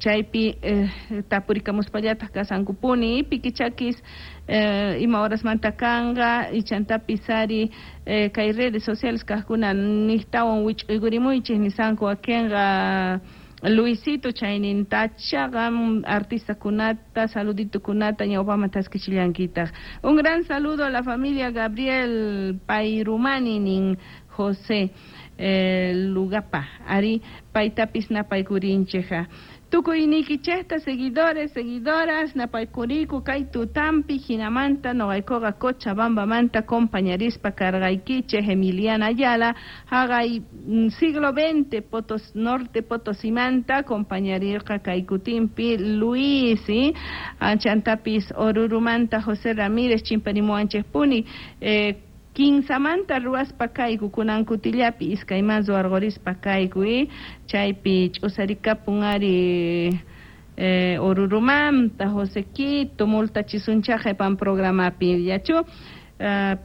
Chaypi tapurikamuspallataq kasankupuni pikichakis ima horasmanta kanqa ichantapis ari kay redes sociales kaqkuna niqtawan wich'uykurimuychik nisanku wakinqa Luisito chaynintachaqa artistakunata saluditukunata ñawpaman taskichillankitaq. Un gran saludo a la familia Gabriel Pairumani nin José Lugapa ari paytapis napaykurinchikqa. Tukuyniykichikta seguidores, seguidoras, napaykuriku kay tutampi hinamanta noqaykuqa Cochabambamanta compañarispa karqaykichik Emiliana Ayala haqay siglo XX Potos Norte Potosimanta compañarirqa kay kutinpi Luis chantapis Orurumanta José Ramírez chimparimuwanchikpuni kinsamanta ruwaspa kayku kunan kutillapi iskayman ruwarqurispa kayku chaypi ch'usarikapun ari Orurumanta José Quito multachisunchá qhipan programapi yachu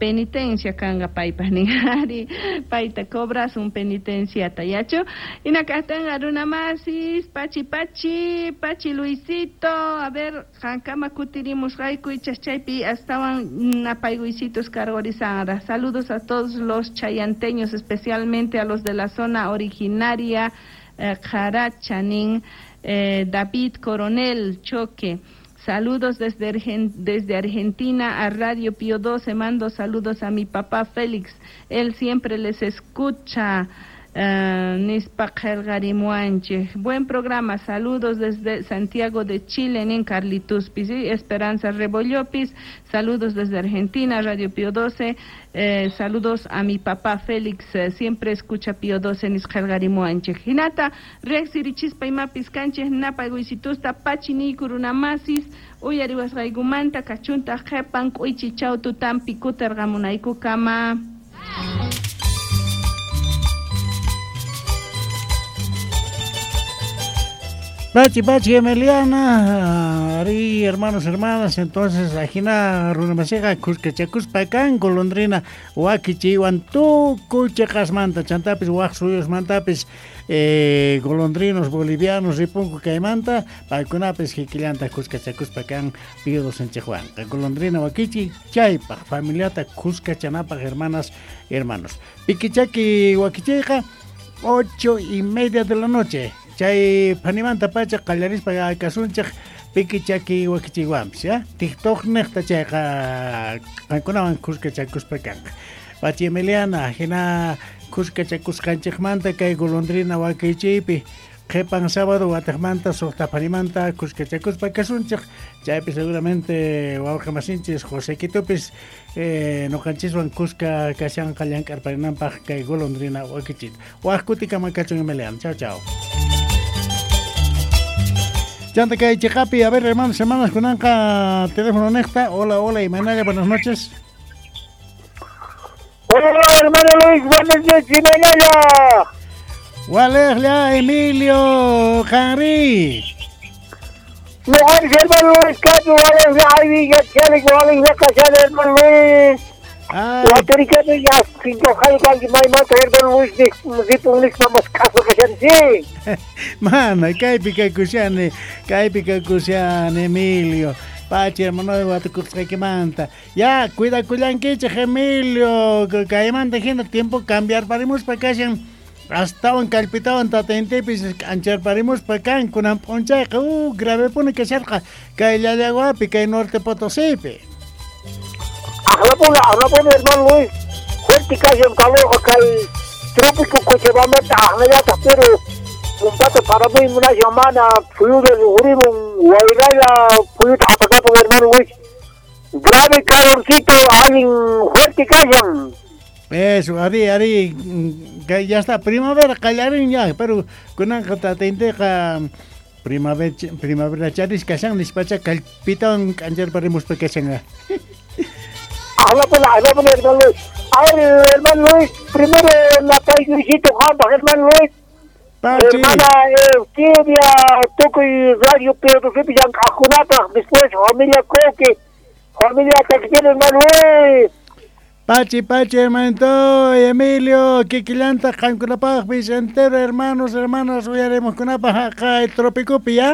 penitencia kanqa paypaq nin ari payta cobrasun penitenciata yachu hinakaqtinqa runamasis pachi pachi pachi Luisito a ver qankama kutirimusqayku ichas chaypi astawan napaykuysitos karqurisanraq. Saludos a todos los chayanteños, especialmente a los de la zona originaria Qaracha nin David Coronel Choque. Saludos desde Argentina a Radio Pío 12. Mando saludos a mi papá Félix. Él siempre les escucha. Nispa qillqarimuwanchik. Buen programa. Saludos desde Santiago de Chile, nin Carlituspis. ¿Sí? Esperanza Rebollopis. Saludos desde Argentina, Radio Pío 12. Saludos a mi papá Félix. Siempre escucha Pío 12 nispa qillqarimuwanchik. Hinata riqsirichispa imapis kanchik napaykuysitusta pachi niyku runamasis uyariwasqaykumanta kachuntaq qhipan k'uychichaw tutampi kutirqamunaykukama. Pachi, pachi, Emiliana, ari, hermanos, hermanas, entonces, ajina runamasiqa kuskachakuspa kan golondrina wakichiywan tukuy chiqasmanta, chantapis waq suyusmantapis golondrinos bolivianos ripunku kaymanta, paykunapis kikillanta kuskachakuspa kan Pío docenchikwanqa. Golondrina wakichi chaypaq familiata kuskachanapaq, hermanas, hermanos. Pikichaki wakichiyqa 8:30 de la noche. Chay panimanta pacha qallarispa kasunchik pikichaki wakichiwanpis, ya? TikTok niqta chayqa qankunawan kuskachakuspa kanqa. Pachi Emiliana, hina kuskachakusqanchikmanta kay golondrina wakichiypi qhipan sábado wataqmanta suqta panimanta kuskachakuspa kasunchik. Chaypi seguramente wawqamasinchis José Quitopis noqanchiswan kuska kashanqa llank'arparinanpaq kay golondrina wakichita. Waq kutikama kachun Emiliana. Chao, chao. Chanta kay chiqapi, a ver, hermanos, hermanas, kunanqa teléfono niqta. Hola, hola, Imanaya, buenas noches. Hola, hermano Luis, buenas noches, Imanaya. Walejla, Emilio, Henry. No, hermano Luis, Cacho, walejla, ay, ya, chale, walejla, cachale, hermano Luis. Mana, kaypi kakushani, Emilio. Pachi, hermano, watukusqaykimanta. Ya, cuidakullankichik, Emilio. Kaymanta hina tiempo cambiarparimuspa kashan. Astawan kallpitawan tatayntipis k'ancharparimuspa kan kunan p'unchayqa gravepuni kasharqa kay Llallaguapi, kay Norte Potosípi. Ahlapuna, hermano Luis, fuerte kashan calor kay trópico Cochabamba ahlayataq, pero pumpata paramuy munashan mana phuyuta riqhurimun wayralla phuyuta apakapun hermano Luis. Grave calorcito, alguien fuerte kashan. Eso, ari, ya está, primavera qallarin ya, pero kunanqa tatayninqa primavera charis kashan nispacha kallpitawan k'ancharparimuspa kashan. Ahlapuna, hermano Luis. A ver, hermano Luis, primero la paiguisito, hermano Luis. Pachi. Hermana Eusebia, tukuy radio Pedro llank'aqkunapaq, después familia Coque, familia Taquillero, hermano Luis. Pachi, pachi, hermanito, Emilio, kikillanta qankunapaqpis entero, hermanos, hermanas, uyaremos kunapaq haqay Tropicopi, ¿ya?